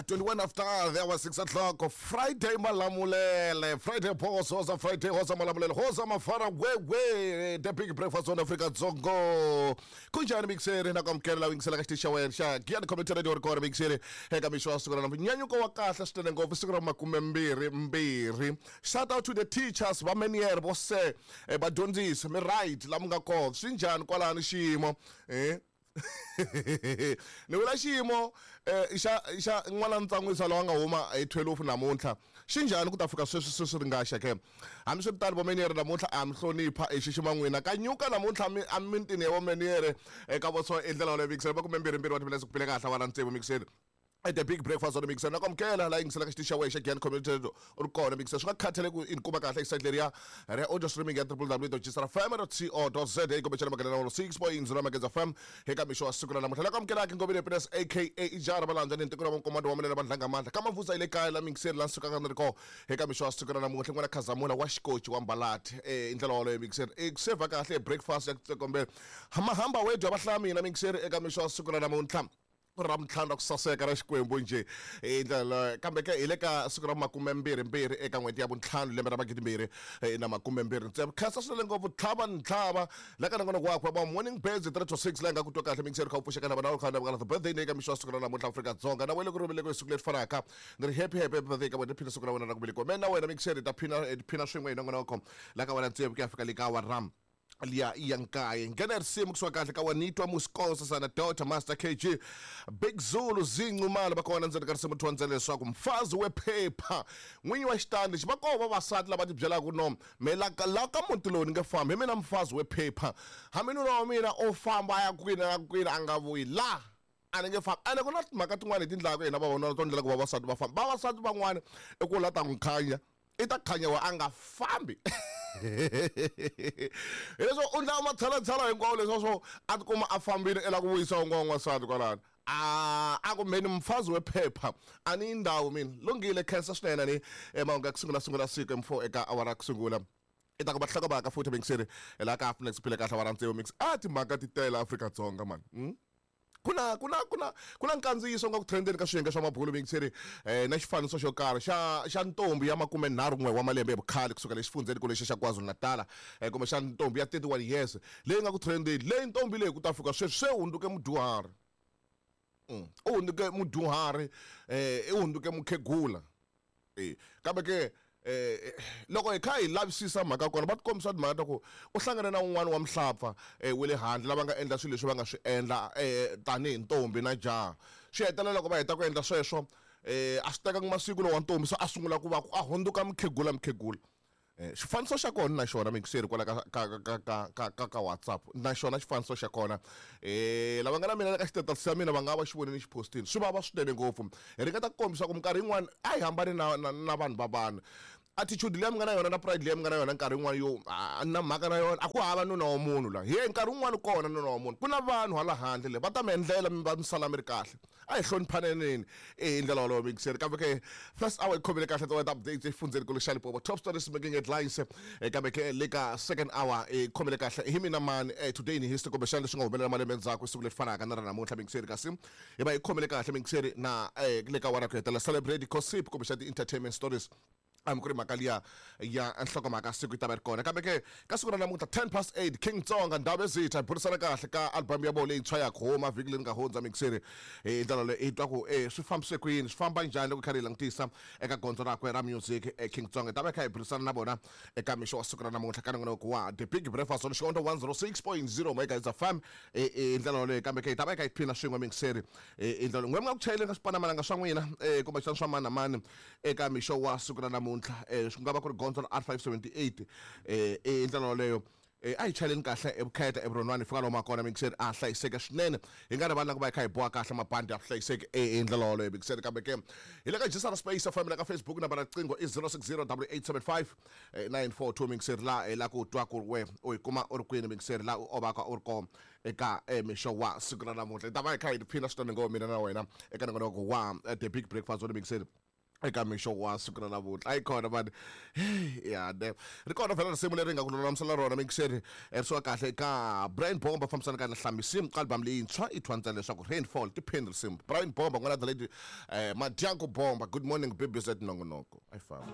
21 after the hour 6 o'clock. Friday Malamulele, Friday Boss, Hosa Friday, Hosa Malamulele, Hosa Mafara, Wewe, The Big Breakfast on Africa Zongo. Kunjani mixere na kwamukela la yingisela ka xitichi xa wena xa Giyani Community Radio record mixere eka mixo wa siku ra namuntlha. Nyanyuko wa kahle swinene ngopfu siku ra makumembirhi mbirhi. Shout out to the teachers va Menier vo se vadyondzisi mi right la mi nga kona. Swi njhani kwalano xiyimo? Eh? Ni vula xiyimo xa xa n'wana ntsan'wisa lowa nga huma hi 12 namuntlha xi njhani ku ta fika sweswi sweswi ri nga xa ke hambiswiritano vomeniyere namuntlha a mi hlonipha hi xixima n'wina ka nyuka namuntlha mi emitini ya vomeniyere eka voso i ndlela yoleyo mikiseni makumembirhimbirhi wa timinetse ku pile kahle wa na tsevu mikiseni at the Big Breakfast on the Mixer. Na kwamukela la yingisela ka xitichi xa wena xa Giyani Community Radio u ri kona Mixer. Swi nga khathaleki ku i ni kuma kahle hi leriya ra audio streaming ya www.gsrfm.co.za kumbexana maganela 106.0 Mageza FM eka mixo wa siku ra namuntlha. La kwamukela ki Ngobeni Happiness aka Ijara Malandza ni ntiko ra Nkomando wa Manene Vandlanga Mandla. Ka Mavuza ile kaya la Mixer la sukaka ni ri kona eka mixo wa siku ra namuntlha n'wana Khazamula wa xikoci wa Mbalati. I ndlela wolowo Mixer. I ku seva kahle breakfast ya kumbe mahamba wedya va hlaya mina Mixer eka mixo wa siku ra namuntlha. Ra mintlhanu ra ku saseka ra Xikwembu njhe hi ndlela kambe ke hi le ka siku ra makumembirhimbirhi eka n'hweti ya vuntlhanu lembe ra magidimbirhi na makumembirhi ntsena. Khensa swinene ngopfu tlhava ni tlhava la ka nongonoko wakwe wa Morning Birds 3 to 6 laha nga ku twa kahle mingiseri kha u pfuxeka na vana kha na the birthday eka mixo wa siku ra namuntlha Afrika-Dzonga na wena ku ri hi siku leri fanaka ni ri happy happy birthday ka wena phina siku ra wena ra ku velekiwa me na wena mingiseri ta phina phina swin'we hi nongonoko la ka wena tsevu ku ya fika le ka awara liya ya nkaye. Nghena risimu kusuka kahle ka wanitwa Musikosa sana Daughter Master KG Big Zulu Zincumalo va kona ndzeni ka risimu thondzela leswaku mfazi wephepha n'winyi wa xitandi lexi va kona vavasati lava ti byelaka no me la ka la ka muti lowu ni nge fambi hi mina mfazi wephepha hambi nuna wa mina o famba a ya kwini na kwini a nga vuyi la a ni nge fambi ene ku na timhaka tin'wana hi ti ndlaka hina vavanuna to ndlela ku vavasati va famba vavasati van'wana i ku la ta n'wi khanya i ta khanya wa a nga fambi hileswo u ndla matshalatshala hinkwawo leswa swo a tikuma a fambile i la ku vuyisa un'wana n'wansati kwalano a a ku mheni mfazi wephepha a ni yi ndhawu mina lunghile khensa swinene ni emahungu ya ku sungula sungula siku m4 eka awara ya ku sungula i ta ku va hlokomhaka futhi mingiseri hi laha ka Afnex phile kahle awara tsevu mix a timhaka ti tele Afrika-Dzonga mani Ku na ku na ku na ku na nkandziyiso nga ku trendeni ka swiyenge swa mabulu mingiseri na xifaniso xo karhi xa xa ntombi ya makumenharhu n'we wa malembe ya vukhale kusuka le xifundzheni ku lexi xa KwaZulu-Natal kumbe xa ntombi ya 31 years leyi nga ku trendeni leyi ntombi leyi ku ta fika sweswi se hundzuke mudyuhari u hundzuke mudyuhari i hundzuke mukhegula. E kambe ke loko hi kha hi lavisisa mhaka kona va tikombisa timhaka ta ku u hlangane na un'wana wa muhlapfa wa le handle lava nga endla swilo leswi va nga swi endla tanihi ntombi na jaha swi hetelela loko va heta ku endla sweswo a swi tekanga masiku lowa ntombi se a sungula ku va a hundzuka mukhegula mukhegula. Xifaniso xa kona na xona mingiseri kwala ka ka ka ka ka ka ka WhatsApp na xona xifaniso xa kona lava nga na mina ka xitatus xa mina va nga va xi vonile xi postini swi vava swinene ngopfu hi ringeta ku kombisa ku minkarhi yin'wani a hi hambani na na na vanhu va vanhu attitude leyi mi nga na yona na pride leyi mi nga na yona nkarhi yin'wani yo a na mhaka na yona a ku hava nuna wa munhu la hi nkarhi wun'wani kona nuna wa munhu ku na vanhu hala handle le va ta mi endlela mi va mi sala mi ri kahle A hi hloniphaneneni hi ndlela wolowo mixer kambe ke first hour yi khomile kahle ti updates exifundzhenikulu xa Limpopo top stories making headlines kambe ke le ka second hour yi khomile kahle hi mina mani today in history kumbexana leswi nga humelela malembe endzhaku siku leri fanaka na ra namuntlha mixer kasi hi va yi khomile kahle mixer na le ka awara ku hetelela celebrate gossip kumbexana ti-entertainment stories hambi ku ri mhaka liya ya nhlokomhaka siku yi ta va ri kona kambe ke ka siku ra namuntlha 10 past 8 King Tsonga ndhawu ezitha hi burisana kahle ka album ya vona leyintshwa ya ku huma vhiki leri nga hundza mixeri hi ndlela leyi hi twa ku e swi fambise ku yini swi famba njhani loko hi karhi hi langutisa eka gondzo rakwe ra music King Tsonga hi ta va hi kha hi burisana na vona eka mixo wa siku ra namuntlha ka nongonoko wa The Big Breakfast on Xikondo 106.0 Megahertz FM hi ndlela yoleyo kambe ke hi ta va hi kha hi phina swin'we mixeri hi ndlela n'we mi nga ku chayeleni ka swipanamalanga swa n'wina kumbexana swa mani na mani eka mixo wa siku ra namuntlha swi nga va ku ri gondzo ra R578 hi ndlela yoleyo a hi chayeleni kahle evukheta evuronwani hi fika lomu kona mixeri a hlayiseke swinene hi nga rivali na ku va hi kha hi boha kahle mabandi ya vuhlayiseki hi ndlela yoleyo mixeri kambe ke hi le ka Jisara Space FM la ka Facebook namba ra riqingho i 060 875 942 mixeri la hi la ku twa ku ri we u hi kuma u ri kwini mixeri la u ovaka u ri kona eka mixo wa siku ra namuntlha hi ta va hi kha hi tiphina swinene ngopfu mina na wena eka nongonoko wa The Big Breakfast wa mixeri. Eka mixo wa siku ra namuntlha a yi kona mani ya ne ri kona vhela risimu leri nga ku lulamisela rona mixeri ri suka kahle eka Brian Bomba fambisana ka na Hlamisimu ka album leyintshwa i thwa ntsena leswaku Rainfall tiphini risimu. Brian Bomba n'wana the lady Madyanku Bomba. Good morning, BBZ nongonoko a yi famba.